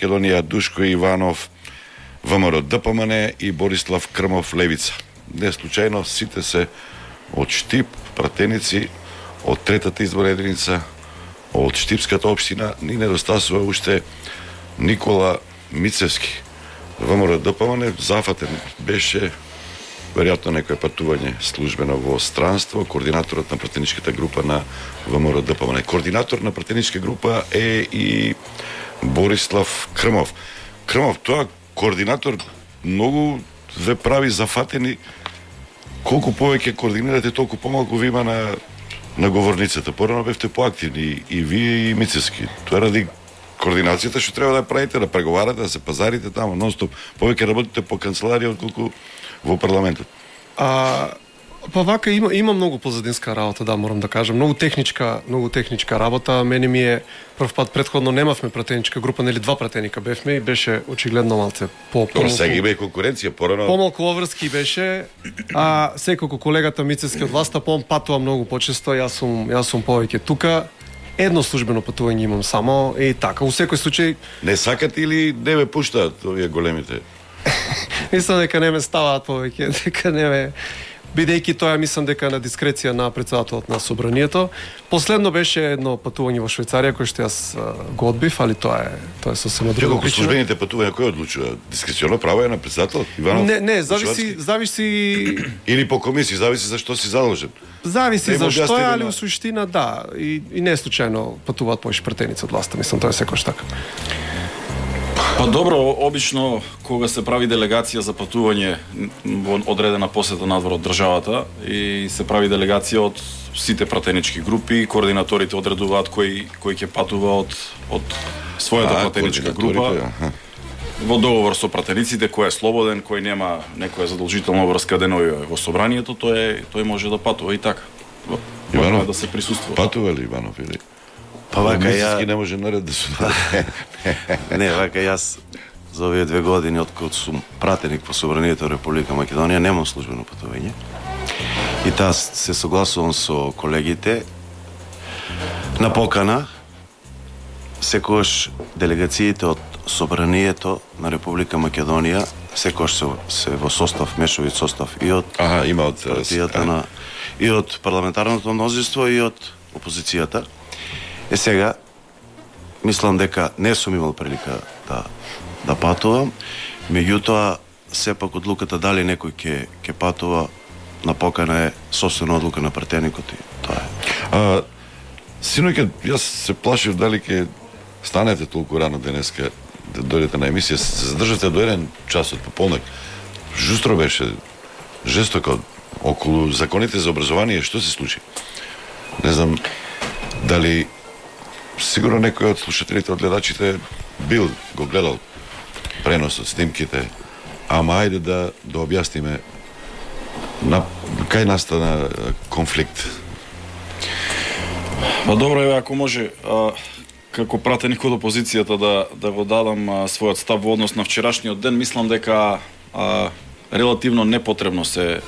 Македонија Душко Иванов, ВМРО ДПМН и Борислав Крмов Левица. Не случајно сите се од Штип, пратеници од третата изборна единица, од Штипската општина. Ни недостасува уште Никола Мицевски. ВМРО ДПМН зафатен беше веројатно некое патување службено во странство, координаторот на пратеничката група на ВМРО ДПМН. Координатор на пратеничка група е и Борислав Крмов. Крмов, тоа координатор многу ве прави зафатени. Колку повеќе координирате, толку помалку ви има на говорницата. Порано бевте поактивни и вие и Мицевски. Тоа ради координацијата што треба да правите, да преговарате, да се пазарите таму нонстоп. Повеќе работите по канцеларија отколку во парламентот. Па вака има многу позадинска работа, да, морам да кажам. Многу техничка работа. Мене ми е прв пат претходно немавме пратеничка група, нели два пратеника бевме и беше очигледно малце сега има и конкуренција, порано помалку обврски беше. Секако колегата Мицевски од власта патува многу почесто, јас сум повеќе тука. Едно службено патување имам само и така. У секој случај не сакат или не ме пуштаат овие големите? Мислам дека не ме ставаат повеќе, дека не ме, бидејќи тоа мислам дека на дискреција на претседателот на собранието. Последно беше едно патување во Швајцарија кој што јас го одбив, али тоа е сосема друга причина. Службените патувања кој одлучува? Дискреционо право е на претседателот Иванов? Не, зависи или по комисија, зависи за што си задолжен. Зависи за што е, али во суштина да, и не случајно патуваат повеќе пратеници од власта, мислам тоа е секојаш така. Па добро, обично кога се прави делегација за патување во одредена посета надвор од државата и се прави делегација од сите пратенички групи, координаторите одредуваат кој ќе патува од својата пратеничка група. Во договор со пратениците, кој е слободен, кој нема некоја задолжителна врска денови во собранието, тој може да патува и така. Иванов да се присуствува. Патува ли Иванов или? Па вака ја не може наред да се Не, вака јас за овие 2 години откога сум пратеник по собранието Република Македонија немам службено патување. И таа се согласувам со колегите на покана секогаш делегациите од собранието на Република Македонија секогаш се во состав, мешовит состав и од има од партијата и од парламентарното мнозинство и од опозицијата. Сега мислам дека не сум имал прилика да патувам, меѓутоа сепак одлуката дали некој ќе патува на покана е собствена одлука на пратеникот и тоа е. Синоќа јас се плашив дали ќе станете толку рано денеска да дојдете на емисија, се задржате до 1 час од пополнок. Жустро беше, жестоко околу законите за образование, што се случи? Не знам дали сигурно некој од слушателите, од гледачите го гледал преносот, снимките, ама ајде да објасниме кај настана конфликт. Па добро е, ако може како пратеник од опозицијата да го дадам својот став во однос на вчерашниот ден, мислам дека релативно непотребно се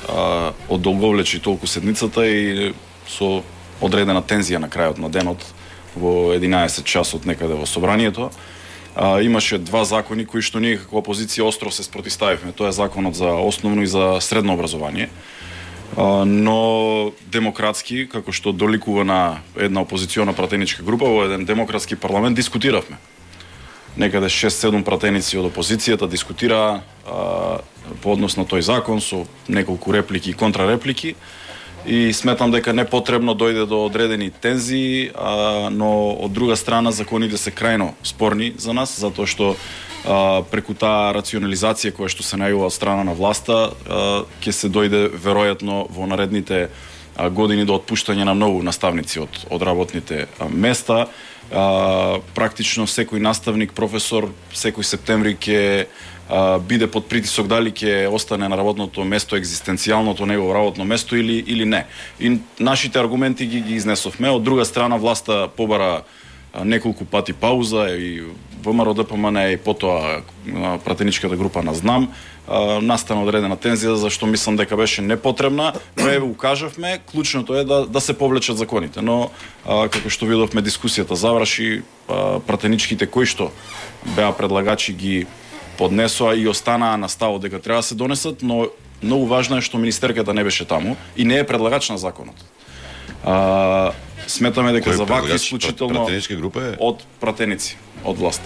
одолговлечи толку седницата и со одредена тензија на крајот на денот во 11 часот некаде во собранието. Имаше 2 закони кои што ние како опозиција остро се спротивставивме. Тоа е законот за основно и за средно образование. Но демократски, како што доликува на една опозициона пратеничка група, во еден демократски парламент дискутиравме. Некаде 6-7 пратеници од опозицијата дискутираа по однос на тој закон со неколку реплики и контрареплики. И сметам дека не потребно дојде до одредени тензии, но од друга страна законите се крајно спорни за нас, затоа што преку таа рационализација која што се најава од страна на власта, ќе се дојде веројатно во наредните години до отпуштање на многу наставници од работните места. Практично секој наставник, професор, секој септември ќе биде под притисок дали ќе остане на работното место, екзистенцијалното негово работно место или не. И нашите аргументи ги изнесовме. Од друга страна власта побара неколку пати пауза и ВМРО ДПМН и потоа пратеничката група на Знам, настана одредена тензија за што мислам дека беше непотребна, но еве укажавме, клучното е да се повлечат законите, но како што видовме дискусијата заврши, пратеничките кои што беа предлагачи ги поднесоа и останаа на ставот дека треба да се донесат, но многу важно е што министерката не беше таму и не е предлагач на законот. Сметаме дека за вакви исклучително пратеничка група е од пратеници, од власт.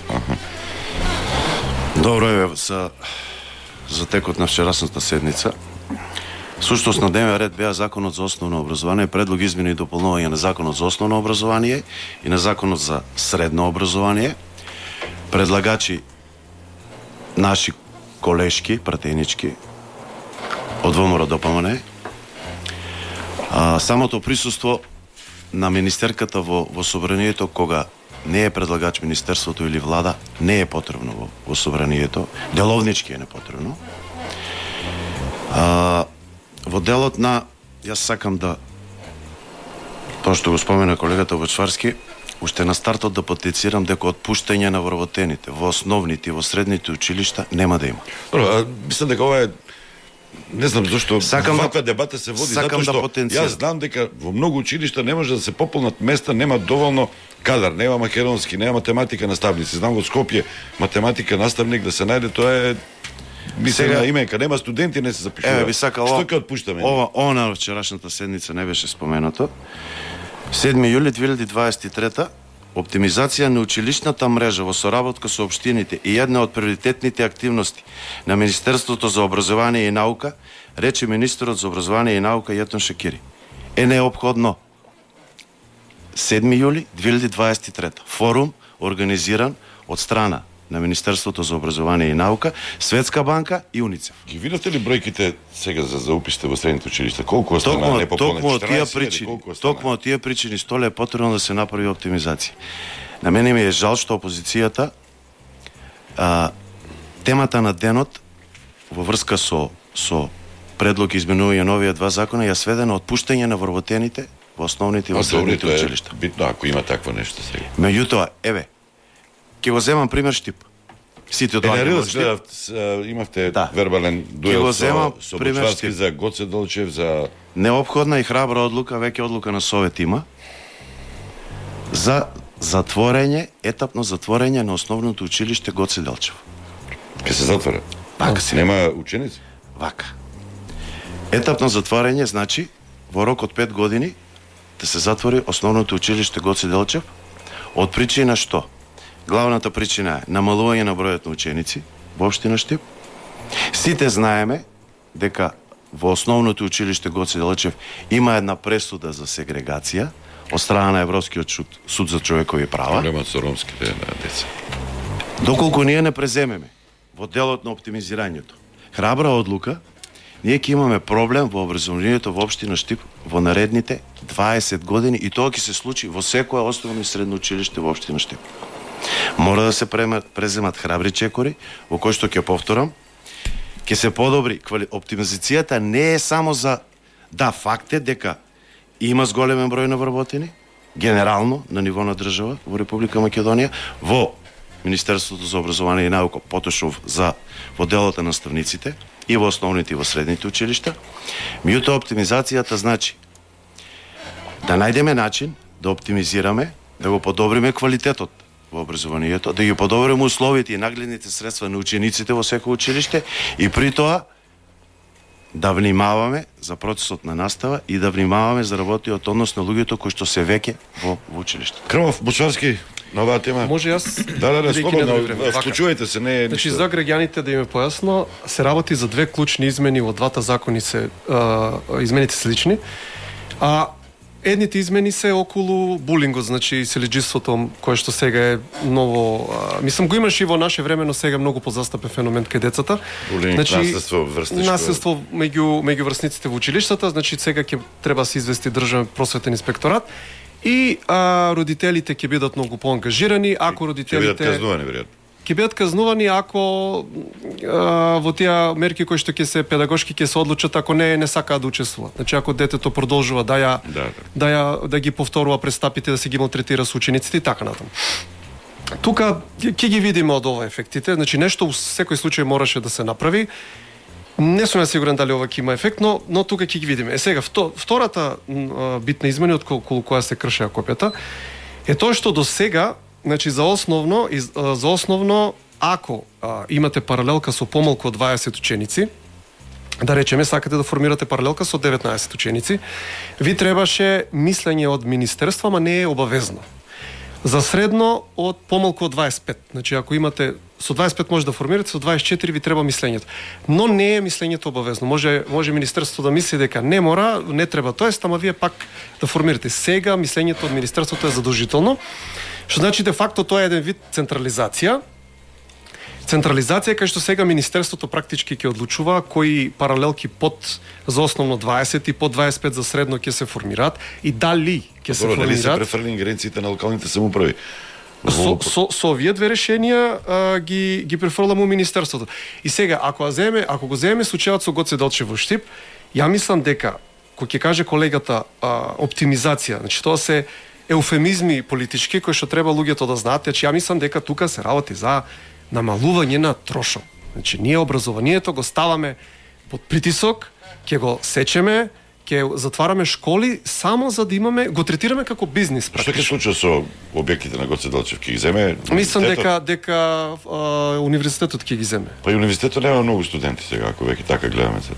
Добро е за текот на вчерашната седница. Суштост на дневен ред беа Законот за основно образование, предлог измени и дополнување на Законот за основно образование и на Законот за средно образование. Предлагачи наши колешки, пратенички од ВМРО ДПМН. Самото присуство на министерката во собранието, кога не е предлагач министерството или влада, не е потребно во собранието, деловнички е непотребно. Во делот на, јас сакам да, тоа што го спомена колегата Бочварски, уште на стартот да потенцирам дека отпуштање на вработените во основните и во средните училишта нема да има. Мислам дека ова е, не знам зашто ваква дебата се води, затоа што јас знам дека во многу училишта не може да се пополнат места, нема доволно кадар, нема македонски, нема математика наставници. Знам во Скопје математика наставник да се најде, тоа е мислена именка, нема студенти, не се запишува. Би сакал, што ќе отпуштаме? Ова на вчерашната седница не беше споменато. 7 јули 2023 оптимизација на училишната мрежа во соработка со општините и една од приоритетните активности на Министерството за образование и наука, рече министерот за образование и наука Јетон Шекири. Е неопходно 7 јули 2023 форум организиран од страна на Министерството за образование и наука, Светска банка и УНИЦЕФ. Ги видовте ли бројките сега за уписите во средните училишта? Колку остана непополнет? Токму од тие причини столе е потребно да се направи оптимизација. На мене ми е жал што опозицијата темата на денот во врска со предлог изменување новија два закона ја сведе на отпуштање на вработените во основните и во средните училишта. Битно ако има такво нешто сега. Меѓутоа, еве, ќе го земам пример Штип. Сите доаѓаат во Штип. Имавте вербален дуел со Бочварски за Гоце Долчев, за неопходна и храбра одлука, веќе одлука на Совет има, за затворење, етапно затворење на основното училиште Гоце Делчев. Ке се затвора? Вака се. Нема ученици? Вака. Етапно затворење значи во рок од 5 години да се затвори основното училиште Гоце Делчев, од причина што? Главната причина е намалување на бројот на ученици во општина Штип. Сите знаеме дека во основното училиште Гоце Делчев има една пресуда за сегрегација од страна на Европскиот суд за човекови права. Проблемот со ромските деца. Доколку ние не преземеме во делот на оптимизирањето храбра одлука, ние ќе имаме проблем во образованието во општина Штип во наредните 20 години и тоа ќе се случи во секое основно и средно училиште во општина Штип. Мора да се преземат храбри чекори, во кои што ќе повторам, ќе се подобри оптимизацијата не е само за факт е дека има зголемен број на вработени генерално на ниво на држава во Република Македонија, во Министерството за образование и наука, потошов во делот на наставниците и во основните и во средните училишта. Меѓутоа оптимизацијата значи да најдеме начин да оптимизираме, да го подобриме квалитетот во образованието, да ги подобриме условите и нагледните средства на учениците во секој училиште и при тоа да внимаваме за процесот на настава и да внимаваме за работиот однос на луѓето кои што се веќе во училиште. Крмов, Бочварски, на оваа тема. Може јас? Да, слободно, вклучувајте се, не е Значи, за граѓаните да им е појасно, се работи за две клучни измени во двата закони измените се слични. Едните измени се околу булингот, значи селеџиството, кое што сега е ново, мислам го имаше и во наше време, но сега многу позастапен феномен кај децата. Булинг, наследство врсничко. Наследство меѓу врсниците во училиштата, значи сега ќе треба да се извести државен просветен инспекторат и родителите ќе бидат многу поангажирани, ако родителите ќе бидат казнувани веројатно. ќе бидат казнувани ако во тие мерки кои што ќе се педагошки ќе се одлучат ако не сакаат да учествуваат. Значи ако детето продолжува да ги повторува престапите, да се ги малтретира со учениците и така натаму. Тука ќе ги видиме од ова ефектите, значи нешто во секој случај мораше да се направи. Не сум сигурен дали ова ќе има ефект, но тука ќе ги видиме. Сега втората битна измена околу која се кршеа копијата е тоа што до сега, значи за основно ако имате паралелка со помалку од 20 ученици, да речеме сакате да формирате паралелка со 19 ученици, ви требаше мислење од министерство, ама не е обавезно. За средно од помалку од 25. Значи ако имате со 25 може да формирате, со 24 ви треба мислењето. Но не е мислењето обавезно. Може министерството да мисли дека не мора, не треба тоест, ама вие пак да формирате. Сега мислењето од министерството е задолжително, што значи де факто тоа е еден вид централизација. Централизација кај што сега министерството практички ќе одлучува кои паралелки под за основно 20 и под 25 за средно ќе се формираат и дали ќе се формираат. Дали се префрлени ингеренциите на локалните самоуправи? Со овие две решенија ги префрламе у министерството. И сега ако го земеме случајот со Гоце Делчев во Штип, ја мислам дека кој ќе каже колегата оптимизација, значи тоа се еуфемизми политички кои што треба луѓето да знаат, ја мислам дека тука се работи за намалување на трошок. Значи ние образованието го ставаме под притисок, ќе го сечеме, ќе затвараме школи само за да имаме, го третираме како бизнис практично. Што ќе случи со објектите на Гоце Делчев? Ќе ги земе? Мислам дека универзитетот ќе ги земе. Па и универзитетот нема многу студенти сега, ако веќе така гледаме се.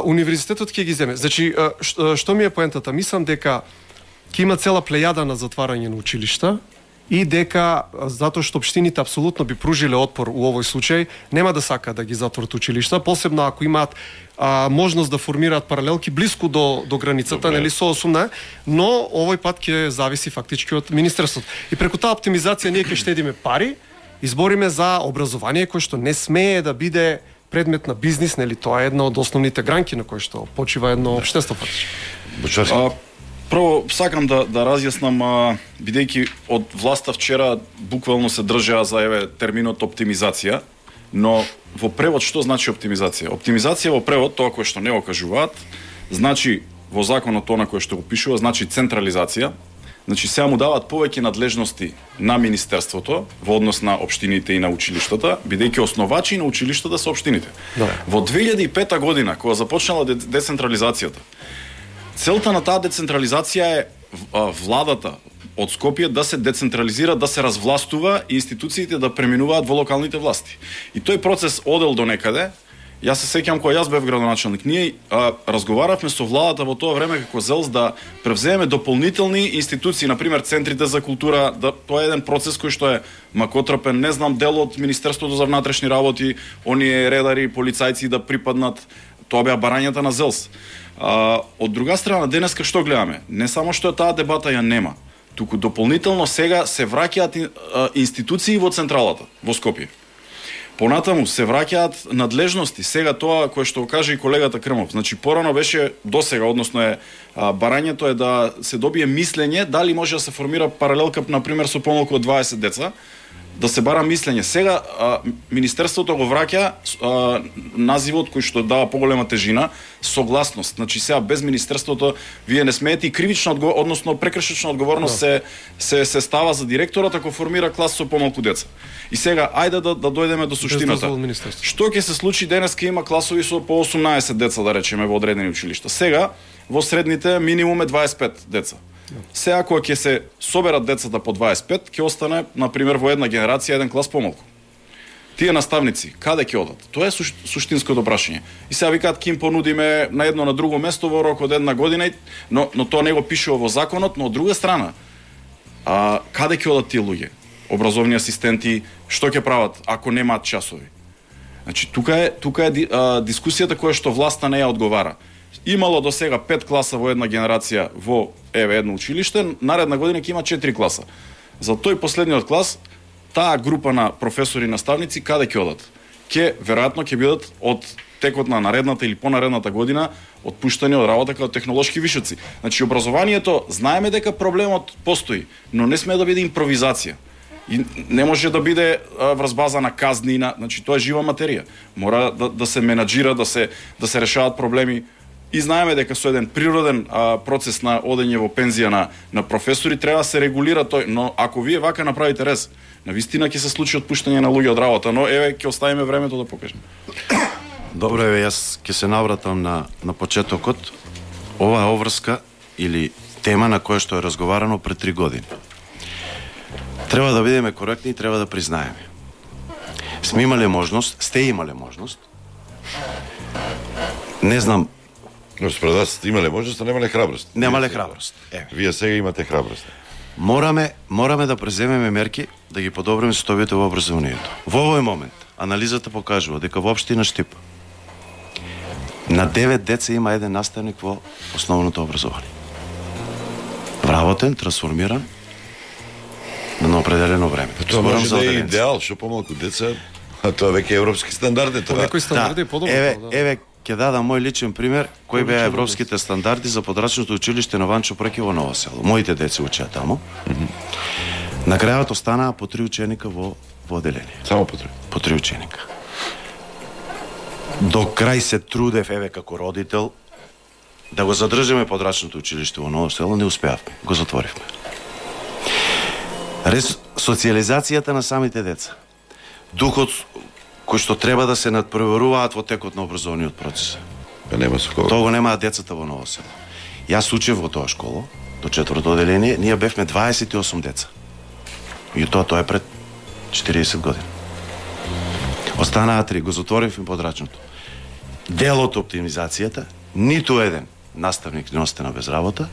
Универзитетот ќе ги земе. Значи што ми е поентата? Мислам дека ќе има цела плејада на затварање на училишта и дека затоа што општините апсолутно би пружиле отпор у овој случај, нема да сакаат да ги затворат училишта, посебно ако имаат можност да формираат паралелки блиску до границата, нели со 18, но овој пат ќе зависи фактички од министерството. И преку таа оптимизација ние ќе штедиме пари, избориме за образование кое што не смее да биде предмет на бизнис, нели тоа е една од основните гранки на кои што почива едно општество фактички. Прво, сакам да разјаснам, бидејќи од власта вчера буквално се држаа за терминот оптимизација, но во превод што значи оптимизација? Оптимизација во превод, тоа кое што не го кажуваат, значи во законот тоа на кое што го пишува, значи централизација, значи сега му даваат повеќе надлежности на министерството во однос на општините и на училиштата, бидејќи основачи на училиштата се општините. Да. Во 2005 година, кога започнала децентрализацијата, целта на таа децентрализација е владата од Скопје да се децентрализира, да се развластува и институциите да преминуваат во локалните власти. И тој процес одел до некаде. Јас се сеќам кога јас бев градоначелник, ние разговаравме со владата во тоа време како ЗЕЛС да превземеме дополнителни институции, например центрите за култура, тоа е еден процес кој што е макотрпен, не знам, дел од Министерството за внатрешни работи, оние редари, полицајци да припаднат, тоа беа барањата на ЗЕЛС. Од друга страна, денеска што гледаме? Не само што таа дебата ја нема, туку дополнително сега се враќаат институции во централата, во Скопје. Понатаму се враќаат надлежности. Сега тоа кое што каже и колегата Крмов, значи порано беше досега, односно барањето е да се добие мислење дали може да се формира паралелка на пример со помалку од 20 деца, да се бара мислење. Сега министерството го враќа називот кој што дава поголема тежина, согласност. Значи сега без министерството вие не смеете и кривична односно прекршечна одговорност се става за директорот ако формира клас со помалку деца. И сега ајде да дојдеме до суштината. Што ќе се случи денеска има класови со по 18 деца да речеме во одредени училишта. Сега во средните минимум е 25 деца. Сега кога ќе се соберат децата по 25, ќе остане на пример во една генерација еден клас помалку. Тие наставници каде ќе одат? Тоа е суштинското прашање. И сега викаат ќе им понудиме на едно на друго место во рок од една година, но тоа не го пишува во законот, но од друга страна каде ќе одат тие луѓе? Образовни асистенти, што ќе прават ако немаат часови? Значи тука е дискусијата која што власта не ја одговара. Имало до сега 5 класа во една генерација во едно училиште, наредна година ќе има 4 класа. За тој последниот клас, таа група на професори и наставници каде ќе одат? Веројатно ќе бидат од текот на наредната или понаредната година отпуштани од работа како технолошки вишоци. Значи образованието знаеме дека проблемот постои, но не сме да биде импровизација. И не може да биде врз база на казни, значи тоа е жива материја. Мора да се менаџира, да се решаваат проблеми. И знаеме дека со еден природен процес на одење во пензија на професори треба да се регулира тој, но ако вие вака направите рез, навистина ќе се случи отпуштање на луѓе од работа, но еве ќе оставиме времето да покажеме. Добро, еве јас ќе се навратам на почетокот. Ова е обврска или тема на која што е разговарано пред 3 години. Треба да бидеме коректни и треба да признаеме. Сте имале можност. Не знам. Но според вас имале можност, а немале храброст. Немале храброст. Вие сега имате храброст. Мораме да преземеме мерки да ги подобриме состојбите во образованието. Во овој момент анализата покажува дека во општина Штип на 9 деца има еден наставник во основното образование. Вработен, трансформиран на определено време. Тоа може да е идеал, што помалку деца, а тоа веќе европски стандарди. Тоа некои стандарди подобро. Еве ќе дадам мој личен пример, кои беа европските стандарди за подрачното училиште на Ванчо Преки во Ново село. Моите деца учеа таму. На крајот останаа по 3 ученика во одделение. Само по 3? По 3 ученика. До крај се трудев, еве, како родител, да го задржиме подрачното училиште во Ново село, не успеавме. Го затворивме. Социализацијата на самите деца. Духот кој што треба да се надпреваруваат во текот на образовниот процес. Нема со кого. Тоа го немаат децата во Ново село. Јас учев во тоа школа, до 4-то одделение, ние бевме 28 деца. И тоа е пред 40 години. Останаа 3, го затворивме подрачното. Дел од оптимизацијата, ниту еден наставник не остана без работа.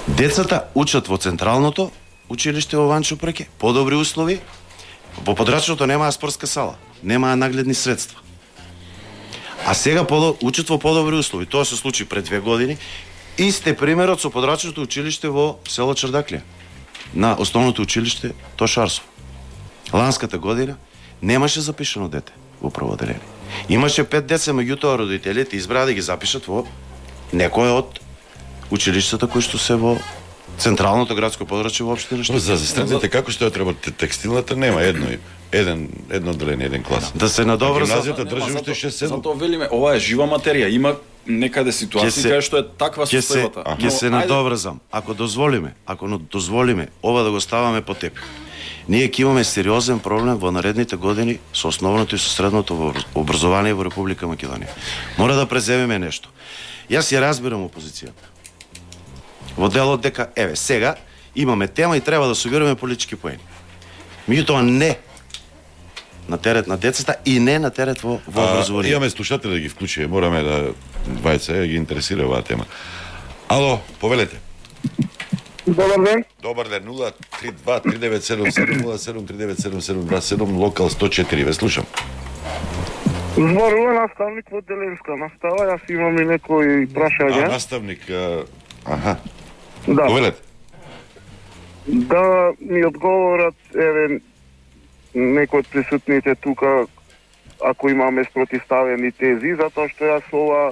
Децата учат во централното училиште во Ванчо Преки, подобри услови. Во подрачното немаа спортска сала, немаа нагледни средства. А сега учат во подобри услови. Тоа се случи пред 2 години. Исте примерот со подрачното училиште во село Чардаклија, на основното училиште Тошарсов. Ланската година немаше запишано дете во прво одделение. Имаше 5 деца, меѓутоа родителите избраа да ги запишат во некој од училиштата кои што се во централното градско подрачје во општина Штип. За средните како што ја треба текстилната нема едно одделение, еден клас. Да се надоврза. Гимназијата држи уште 6-7. Затоа велиме, ова е жива материја, има некаде ситуација кај што е таква состојбата. Ќе се надоврзам. Ако дозволиме ова да го ставаме по тепих, ние ќе имаме сериозен проблем во наредните години со основното и со средното образование во Република Македонија. Мора да преземеме нешто. Јас ја разбирам опозицијата. Во делот дека, еве, сега имаме тема и треба да собираме политички поени. Меѓутоа не на терет на децата и не на терет во образование. Имаме слушатели да ги вклучиме, мораме да вајца ги интересира оваа тема. Ало, повелете. Добар ден. Добар ден, 032-3977-07-3977-27, локал 104, ве слушам. Зборува наставник во Деленска настава, јас имам и некои прашања. Наставник, аха. Да. Повелете. Да ми одговорат, еве, некои од присутните тука, ако имаме спротиставени тези, затоа што јас ова...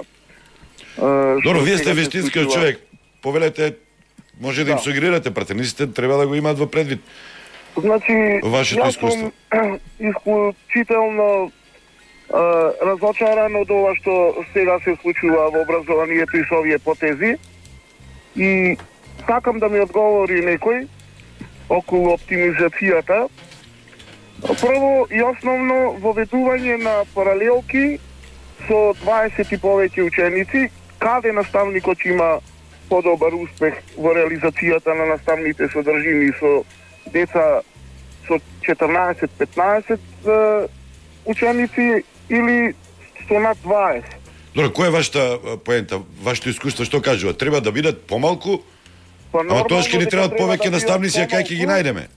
Добро, вие сте вистинскиот човек. Повелете, може да им сугерирате, пратениците треба да го имаат во предвид. Значи, вашето искуство. Јас сум исклучително разочаран од ова што сега се случува во образованието и со овие потези. И сакам да ми одговори некој околу оптимизацијата. Прво и основно воведување на паралелки со 20 и повеќе ученици, каде наставникот има подобар успех во реализацијата на наставните содржини со деца со 14-15 ученици или со над 20. Добро, која е вашата поента, вашето искуство, што кажува? Треба да бидат помалку, ама тоа ќе ни требаат повеќе наставници, а кај ќе ги најдеме?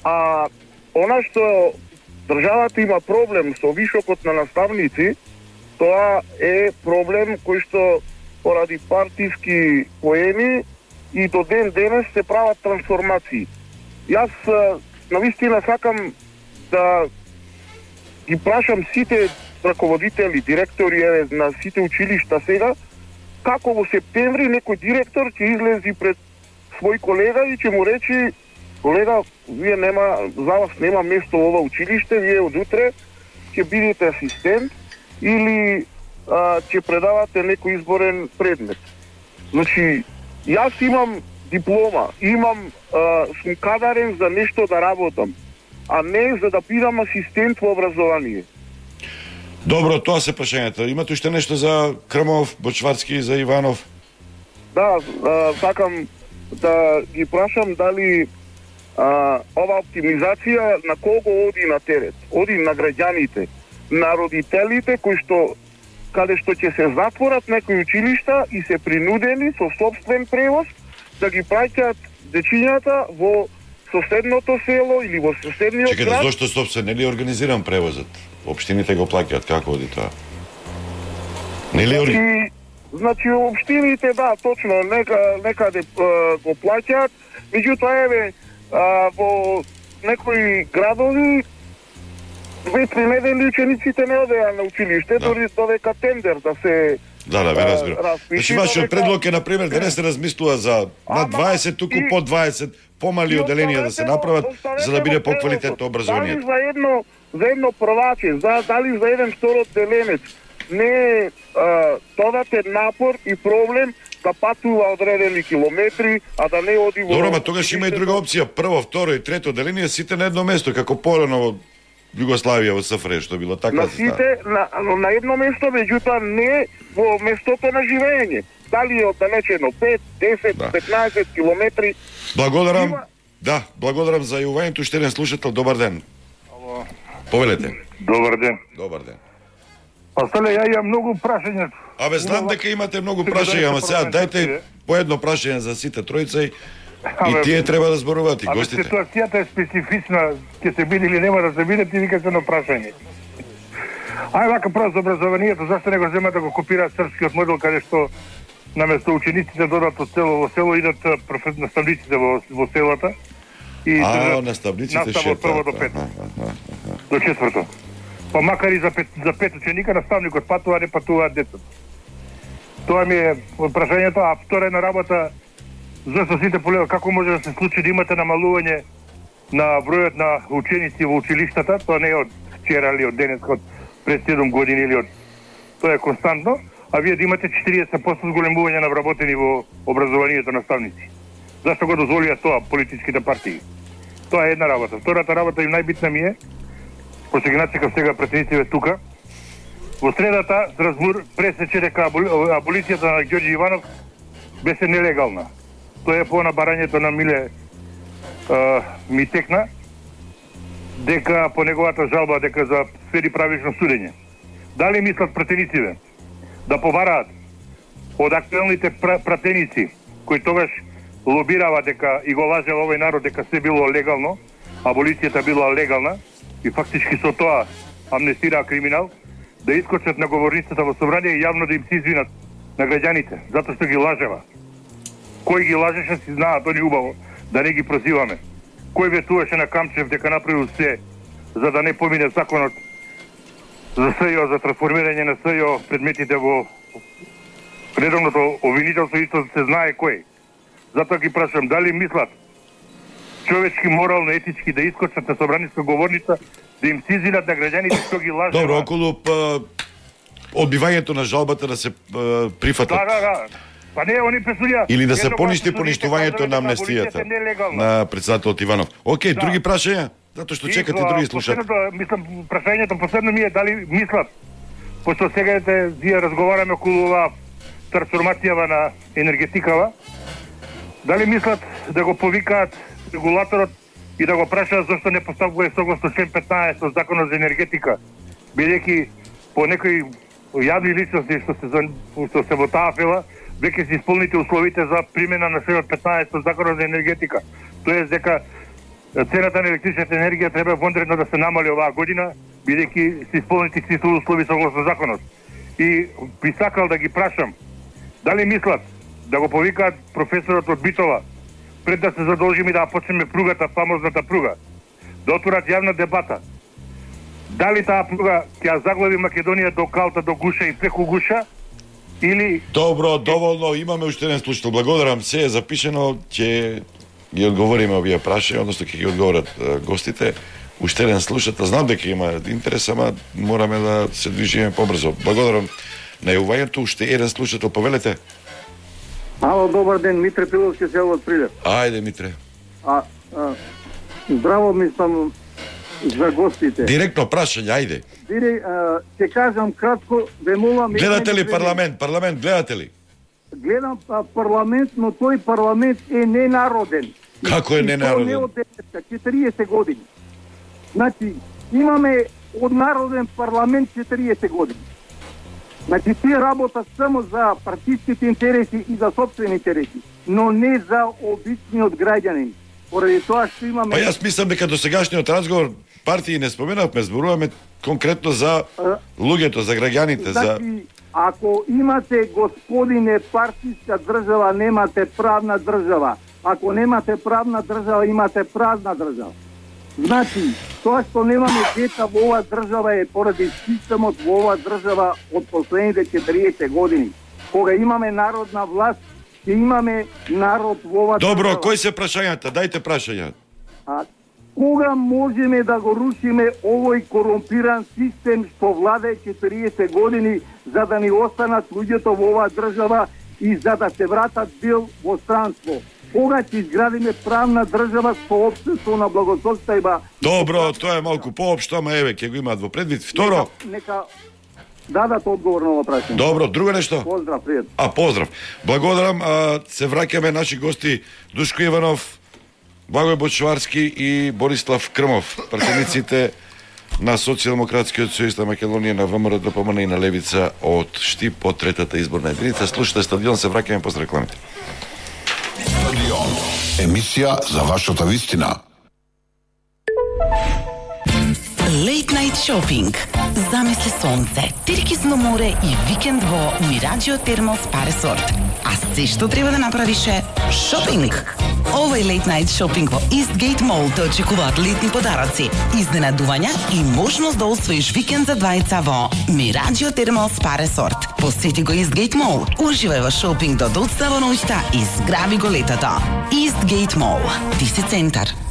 А она што државата има проблем со вишокот на наставници, тоа е проблем кој што поради партиски поени и до ден денес се прават трансформации. Јас навистина сакам да ги прашам сите раководители, директори на сите училишта сега, како во септември некој директор ќе излези пред свој колега и ќе му речи: колега, вие за вас нема место во ова училиште, вие од утре ќе бидете асистент или ќе предавате некој изборен предмет. Значи, јас имам диплома, сум кадарен за нешто да работам, а не за да бидам асистент во образование. Добро, тоа се прашањето. Имате уште нешто за Крмов, Бочварски и за Иванов? Да, сакам да ги прашам дали ова оптимизација на колку оди на терет? Оди на граѓаните, на родителите каде што ќе се затворат некои училишта и се принудени со собствен превоз да ги праќаат дечињата во соседното село или во соседниот град. Чекайте, зошто собствен? Не ли организиран превозот? Општините го плаќаат, како оди тоа? Значи, општините, да, точно, некаде го плаќаат, меѓутоа, во некои градови 2-3 недели учениците не одеа на училиште, дори додека тендер да се Да, ве разбирам. Значи, вашиот предлог е, например, да не се размислува за над 20, туку под 20, помали оделенија да се направат, за да биде поквалитетно образованието. Дали за едно прваче, дали за еден втор одделенец, не додатен напор и проблем да патува одредени километри, а да не оди во... Добро, ма тогаш има и друга опција. Прво, второ и трето одделение сите на едно место, како порано во Југославија, во СФР, што било така. На сите, на едно место, меѓутоа не во местото на живење. Дали е оддалечено 5, 10, 15 километри. Благодарам. Да, благодарам за јувањето. Уште еден слушател. Добар ден. Ало. Повелете. Добар ден. Добар ден. Па стале, ја имам многу прашања. Абе, знам дека имате многу прашања, ама сега дајте по едно прашање за сите тројца и тие треба да зборуваат и гостите. Ситуацијата е специфична, ќе се биде или нема да се биде, ти викаш едно прашање. Ај вака прво за образованието, зашто не го земат да го копираат српскиот модел, каде што наместо учениците додат од село во село, идат наставниците во селата и наставниците настава од прво до пето. До четврто. Па макар и за пет ученика, наставникот патува, не патуваат децата. Тоа ми е прашањето, а втора една работа, зашто сите полева, како може да се случи да имате намалување на бројот на ученици во училиштата, тоа не е од вчера или од денеска, од пред 7 години или од... Тоа е константно, а вие да имате 40% зголемување на вработени во образованието наставници. Зашто го дозволија тоа политичките партии? Тоа е една работа. Втората работа и најбитна ми е, пошто ги начекав сега претениците тука, во средата Стразбур пресече дека аболицијата на Ѓорѓи Иванов беше нелегална. Тоа е по барањето на Миле ми текна, дека по неговата жалба дека за следи правично судење. Дали мислат пратениците да побараат од актуелните пратеници кои тогаш лобирава дека и го лажела овој народ дека се било легално, аболицијата била легална и фактички со тоа амнестираа криминал, да искочат на говорницата во собрание и јавно да им се извинат на граѓаните, затоа што ги лажева. Кој ги лажеше си знаат они убаво, да не ги прозиваме. Кој ветуваше на Камчев дека направил се за да не помине законот за СЈО, за трансформирање на СЈО предметите во редовното обвинителство, исто се знае кој. Затоа ги прашам, дали мислат човечки, морално, етички да искочат на собраниска говорница, да им се извинат на граѓаните што ги лажева. Добро, околу одбивањето на жалбата да се прифатат. Да. Па не, они пресудија... Или да се поништи поништувањето на амнестијата на председателот Иванов. Океј, други прашања? Затоа што чекате други слушатели. Мислам, прашањето последно ми е дали мислат, пошто сега вие разговараме околу ова трансформацијава на енергетикава, дали мислат да го повикаат регулаторот и да го прашаат зашто не поставува согласно член 15 од Законот за енергетика, бидејќи по некои јавни личности што се во таа фела, веќе се исполните условите за примена на член 15 од Законот за енергетика. Тоест дека цената на електричната енергија треба вонредно да се намали оваа година, бидејќи се исполнити сите услови согласно законот. И би сакал да ги прашам, дали мислат да го повикаат професорот од Битола, пред да се задолжиме да почнеме пругата, фамозната пруга, да отворат јавна дебата. Дали таа пруга ќе заглави Македонија до Калта, до Гуша и преку Гуша, или... Добро, доволно, имаме уште еден слушател. Благодарам, се е запишено, ќе ги одговориме овие прашања, односно ќе ги одговорат гостите. Уште еден слушател, знам дека има интерес, ама мораме да се движиме побрзо. Благодарам на јавувањето. Уште еден слушател, повелете. Ало, добар ден, Митре Пиловски, село од Прилеп. Ајде, Митре. Здраво мислам за гостите. Директно прашање, ајде. Ќе кажам кратко, ве молам... Гледате ли парламент? Парламент гледате ли? Гледам парламент, но тој парламент е ненароден. Како е ненароден? Не од 40 години. Значи, имаме однароден парламент 40 години. Значи, тие работат само за партиските интереси и за собствени интереси, но не за обичниот граѓанин. Поради тоа што имаме... Па јас мислам дека до сегашниот разговор партии не споменавме, зборуваме конкретно за луѓето, за граѓаните, значи, ако имате, господине, партиска држава, немате правна држава. Ако немате правна држава, имате празна држава. Значи, тоа што немаме дета во оваа држава е поради системот во оваа држава од последните 40 години. Кога имаме народна власт, ќе имаме народ во оваа држава. Добро, кои се прашањата? Дајте прашања. Кога можеме да го рушиме овој корумпиран систем што владее 40 години за да ни останат луѓето во оваа држава и за да се вратат бил во странство? Кога ќе изградиме правна држава со општество на благосостојба? Добро, тоа е малку поопшто, ама еве ќе го имаат во предвид. Второ, нека дадат одговор на ова прашање. Добро, друго нешто? Поздрав, пријатно. Поздрав. Благодарам, се враќаме наши гости Душко Иванов, Благој Бочварски и Борислав Крмов, пратениците на Социјалдемократскиот сојуз на Македонија, на ВМРО ДПМН и на Левица од Штип од третата изборна единица. Слушате Стадион, се враќаме после рекламите. Стадион, емисија за вашата вистина. Late Night Shopping. Замисли сонце, теркизно море и викенд во Мираџио Термал Спа Ресорт. А се што треба да направиш е шопинг. Овој Late Night Shopping во Eastgate Mall те очекуваат летни подароци, изненадувања и можност да освоиш викенд за двајца во Мираџио Термал Спа Ресорт. Посети го Eastgate Mall, уживај во шопинг до доцна во ноќта и зграби го летото. Eastgate Mall. Ти си центар.